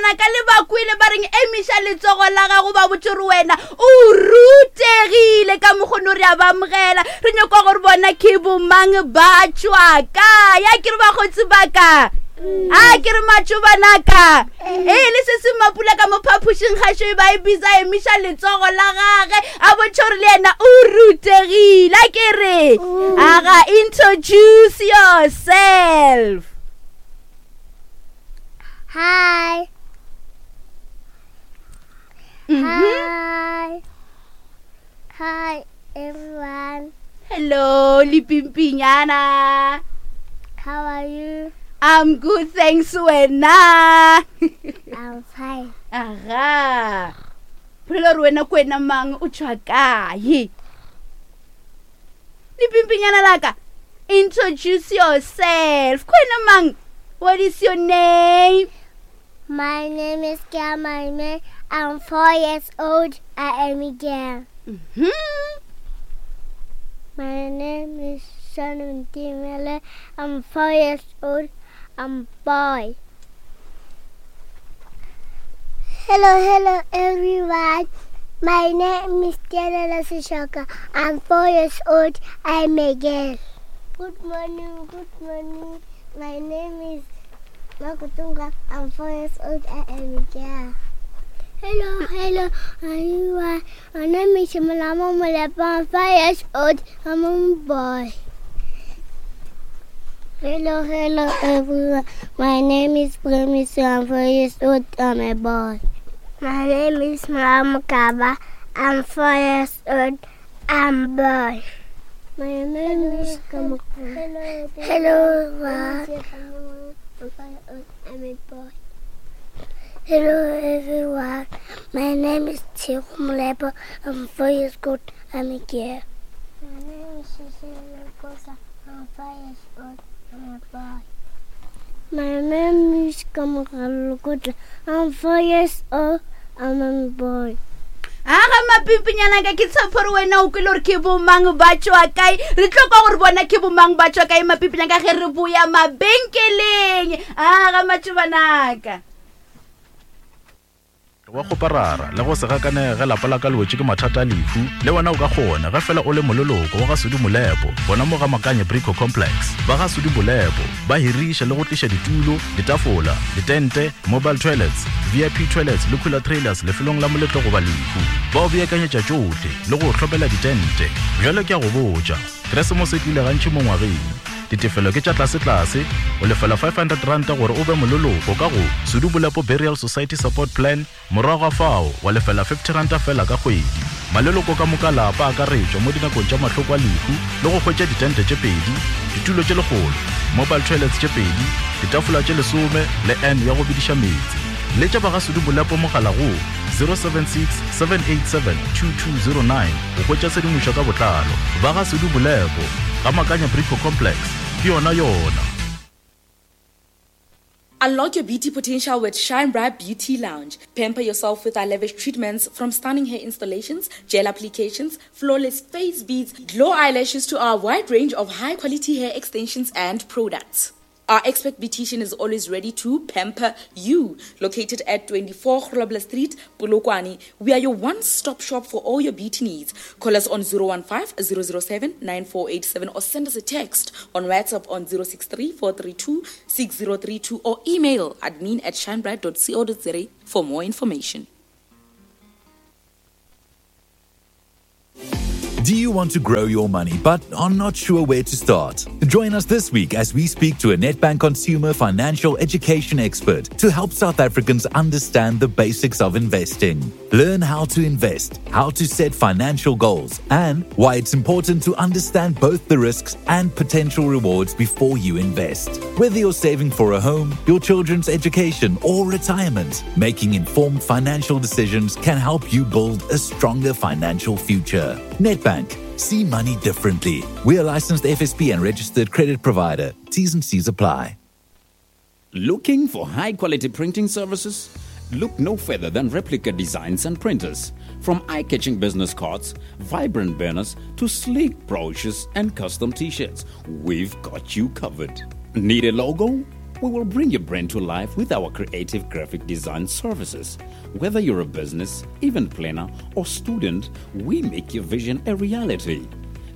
Mapimpinyana ka le ba kwele ba reng emiša letsogo la gago ba botse gore wena o rutegile ka mokgono re a ba amogela re nyoko gore bona ke bomang ba tšwa ka ya ke re bakgotsi ba ka a ke re matšobanaka ee le se se mapula ka mo phapošing gašo e ba e bisa emiša letsogo la gage a bontšha gore le yena o rutegile a ke re aga introduce yourself Hi. Hi. Hi, everyone. Hello, Lipimpinyana. How are you? I'm good, thanks, wena. I'm fine. Aha. Bolela gore wena ko wena mang o tšwa kae? Lipimpinyana laka. Introduce yourself. Ko wena mang? What is your name? My name is Kiamaime. I'm four years old. I am a girl. Mm-hmm. My name is Shannon Timele. I'm four years old. I'm a boy. Hello, hello, everyone. My name is Tiana Sishoka. I'm four years old. I'm a girl. Good morning, good morning. My name is Makutunga. I'm four years old. I am a girl. Hello, hello, everyone. My name is Malama Malapa. I'm five years old. I'm a boy. Hello, hello, everyone. My name is Premiso. I'm four years old. I'm a boy. My name is Malama Kaba. I'm four years old. I'm a boy. My name is Hello, hello, everyone. I'm a boy. Hello, everyone. My name is Chiku Mulepo. I'm four years old. I'm a girl. My name is Cecilia Kosa. I'm five years old. I'm a boy. My name is Kamogalukutla. I'm four years old. I'm a boy. aga mapimpinyana ka ke tshepo gore wena o kwele gore ke bomang ba tšwa kae re tlo kwa gore bona ke bomang ba tšwa kae mapimpinyana ka ge re boya mabenkeleng aga matšobanaka Wa kgoparara le go se gakanege ge lapa la ka le wetše ke mathata a lehu, le wena o ka kgona ge fela o le moleloko wa ga Sudi Molepo gona mo ga Makanye Brico Complex. Ba ga Sudi Molepo ba hiriša le go tliša ditulo, ditafola, ditente, mobile toilets, VIP toilets le cooler trailers lefelong la moletlo goba lehu. Ba o beakanyetša tšohle le go o hlopela ditente. Bjale ke a go botša, Keresemose e tlile gantši mo ngwageng. Ditefelo ke tša tlasetlase, o lefela R500 gore o be moleloko ka go Sudu Bolepo Burial Society Support Plan, morago ga fao wa lefela R50 feela ka kgwedi. Maleloko ka moka lapa a akaretšwa mo dinakong tša mahloko a lehu le go hwetša ditente tše pedi, ditulo tše lekgolo, mobile toilets tše pedi, ditafola tše lesome le urn ya go bediša meetse. Letša ba ga Sudu Bolepo mogala go 076 787 2209 go hwetša tshedimošo ka botlalo. Ba ga Sudu Bolepo, Ga Makanya Brico Complex, ke yona yona. Unlock your beauty potential with Shine Bright Beauty Lounge. Pamper yourself with our lavish treatments from stunning hair installations, gel applications, flawless face beads, glow eyelashes to our wide range of high quality hair extensions and products. Our expert beautician is always ready to pamper you. Located at 24 Grobler Street, Polokwane, we are your one-stop shop for all your beauty needs. Call us on 015 007 9487 or send us a text on WhatsApp on 063 432 6032 or email admin at shinebright.co.za for more information. Do you want to grow your money but are not sure where to start? Join us this week as we speak to a Nedbank consumer financial education expert to help South Africans understand the basics of investing. Learn how to invest, how to set financial goals, and why it's important to understand both the risks and potential rewards before you invest. Whether you're saving for a home, your children's education, or retirement, making informed financial decisions can help you build a stronger financial future. Nedbank. See money differently. We are licensed FSP and registered credit provider. T's and C's apply. Looking for high quality printing services? Look no further than Replica Designs and Printers. From eye catching business cards, vibrant banners, to sleek brochures and custom t shirts, we've got you covered. Need a logo? We will bring your brand to life with our creative graphic design services. Whether you're a business, event planner, or student, we make your vision a reality.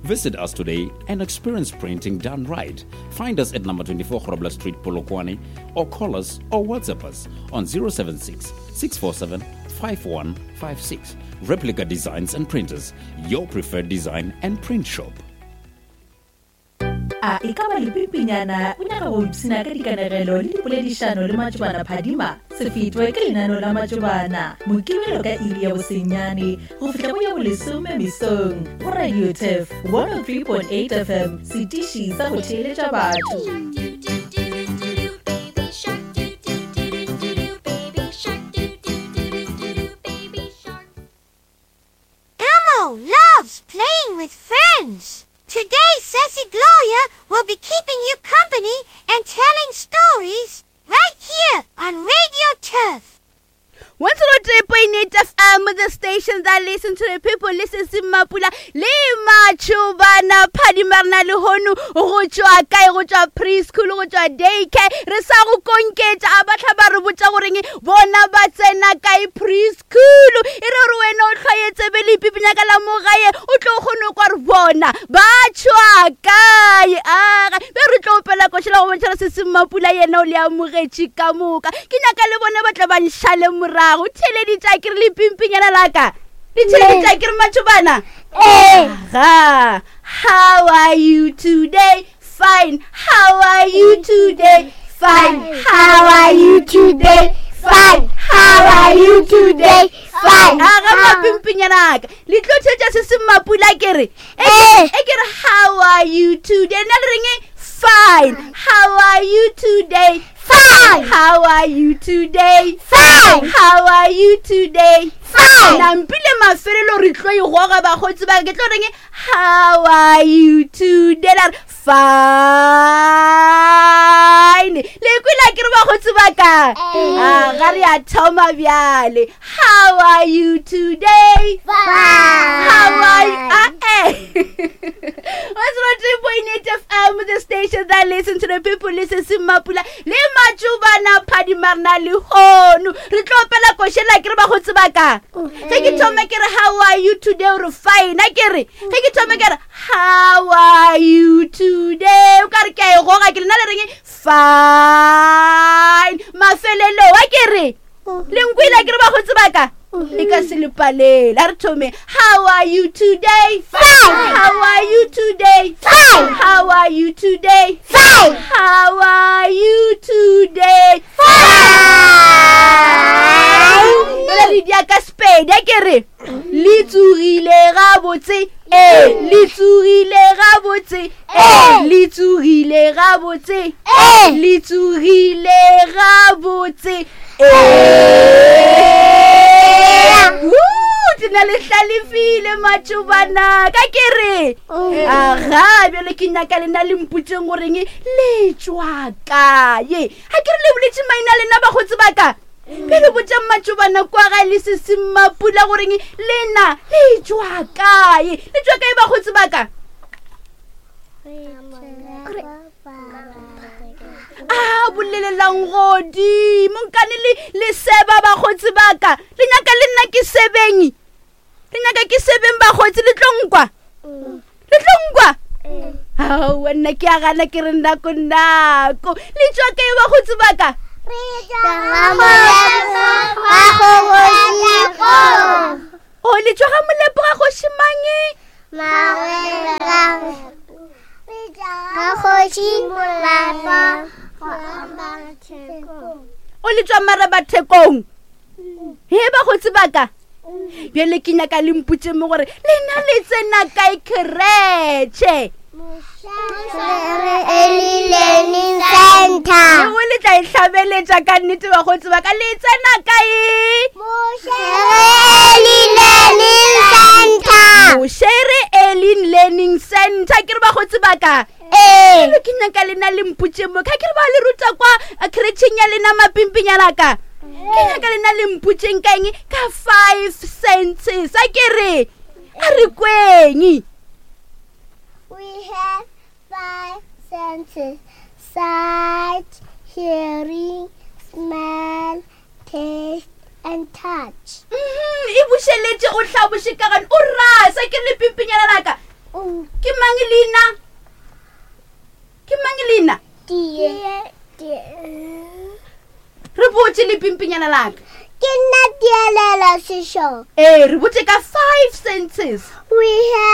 Visit us today and experience printing done right. Find us at number 24 Grobler Street, Polokwane, or call us or WhatsApp us on 076 647 5156. Replica Designs and Printers, your preferred design and print shop. A e ka ba lepimpinyana o nyaka go ipshina ka dikanegelo le dipoledišano le matšobana phadima? Se fetwe ke lenaneo la matšobana Mokibelo ka iri ya bosenyane go fihla go ya bolesome mesong go Radio Turf 103.8 FM, setiši sa go theeletša batho. Elmo loves playing with friends. Today, Sassy Gloria will be keeping you company and telling stories right here on Radio Turf. 103.8 FM, the station that listen to the people, listen to Mapula, le Machubana, Phadima rena lehono, go tšwa kae, go tšwa preschool, go tšwa daycare, re sa go konketša, a ba hla ba re botša goreng bona ba tsena kae preschool, e re gore wena o hlwaye tsebe le ipipinya ka la mo gae, o tlo kgone go kwa re bona ba tšwa kae. Aga be re tlo opela košela go bontšha se se Mmapula yena o le amogetše ka moka. Ke nyaka le bone ba tla ba nšale morago. Theeleditša ke re le pimpinyana laka. Le theeleditša ke re matšobana. Aga, how are you today? Fine. How are you today? Fine. How are you today? Fine. How are you today? Fine. Aga mapimpinyana aka. Le tlo theetša se se Mmapula ke re. E ke re how are you today? Nna le reng? Fine. How are you today? Fine. How are you today? Fine. How are you today? Fine. Nampile mafelelo re tlo e goga bakgotsi ba ke tlo reng how are you today? La re fine. Le kwela ke re bakgotsi ba ka. A ga re a thoma bjale. How are you today? Fine. How are you? Ah, eh. 103.8 FM, the station that listen to the people, listen to Mapula, le Matšobana Phadima rena lehono. Re tlo opela košela ke re bakgotsi ba ka. Ge ke thoma ke re how are you today, o re fine. A ke re ge ke thoma ke re how are you today, o ka re ke a e goga ke lena le reng fine. Mafelelo a ke re le nkwele ke re bakgotsi ba ka le ka se le palele. A re thome how are you today? Fine. How are you today? Fine. How are you today? Fine. How are you today? Fine. Jwale le dia ka Sepedi, a ke re le tsogile gabotse, ee le tsogile gabotse, ee le tsogile gabotse, Ee. le tsogile gabotse, ee. Woo, ke na le hlalefile matšobana ka ke re aga bjale ke nyaka lena le mpotseng goreng le tšwa kae. Ga ke re le boletše maina lena bakgotsi ba ka, bjale botšang matšobana kwa ga le se se Mmapula goreng lena le tšwa kae. Le tšwa kae bakgotsi ba ka? A bolelelang godimo nkane le le seba bakgotsi ba ka. Le nyaka le nna ke sebeng, le nyaka ke sebeng bakgotsi, le tlo nkwa, le tlo nkwa. Aowa nna ke a gana ke re nako nako. Le tšwa kae bakgotsi ba ka? O le tšwa ga Molepo ga kgoši mange? O le tšwa Marabathekong he bakgotsi ba ka. Bjale ke nyaka le mpotše mo gore lena le tsena kae kretšhe. Lengwe le tla e hlabeletša ka nnete bakgotsi ba ka. Le tsena kae? Moshere Early Learning Center. Ke re bakgotsi ba ka, Bjale ke nyaka lena le mpotše mo ka ke re ba le ruta kwa kretšheng ya lena mapimpinyana ka. Ke nyaka lena le mpotšeng ka eng ka 5 senses. A ke re a re kweng. We have 5 senses: sight, hearing, smell, taste, and touch. Mhm, e bušeletše o hlaboše ka gane o rasa ke le pimpinyana laka Mm. ke mang leina ke mang leina Tie. Tie. re botše le pimpinyana laka Ke nna Tielelo Seshoka. ee re botše ka five senses We have